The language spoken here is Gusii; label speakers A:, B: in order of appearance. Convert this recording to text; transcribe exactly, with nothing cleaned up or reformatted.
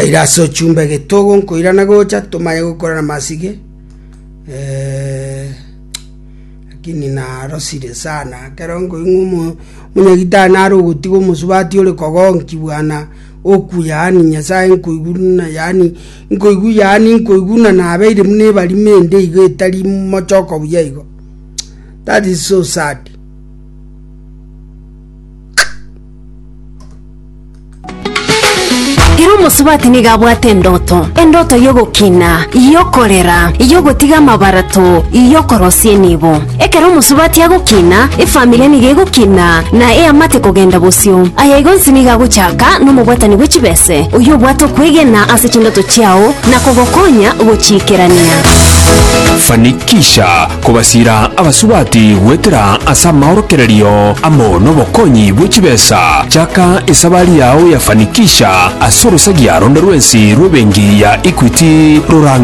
A: Twaira ase ochumbe getogo nkoirana gocha tomanye gokorana masige eh, lakini narosire sana ekero nkoigwa omo omonyagitari nare ogotiga omosubati ore kogonki bwana oku yaani nyasaye nkoigwa na yaani nkoigwa yaani nkoigwa na nabeire buna ebarima ende igo etari mochoko buya igo that is so sad.
B: Kera omosubati nigo abwate endoto, endoto y'ogokina, y'okorera, y'ogotiga amabarato, y'okorosia enibo. Ekero omosubati agokina, efamilia nigo egokina na eamate kogenda bosio. Aya igo onsi nigo agochaka nomobwatani bwe chibese, oyio obwate okwegena ase chindoto chiao na kogokonya gochiikerania.
C: Fanikisha kobasira abasubati gwetera ase amaorokererio amo nobokonyi bwe chibesa. Chaka esabari yao ya Fanikisha ase orosagia ronde rwensi rw'ebenki ya Equity rorang'e.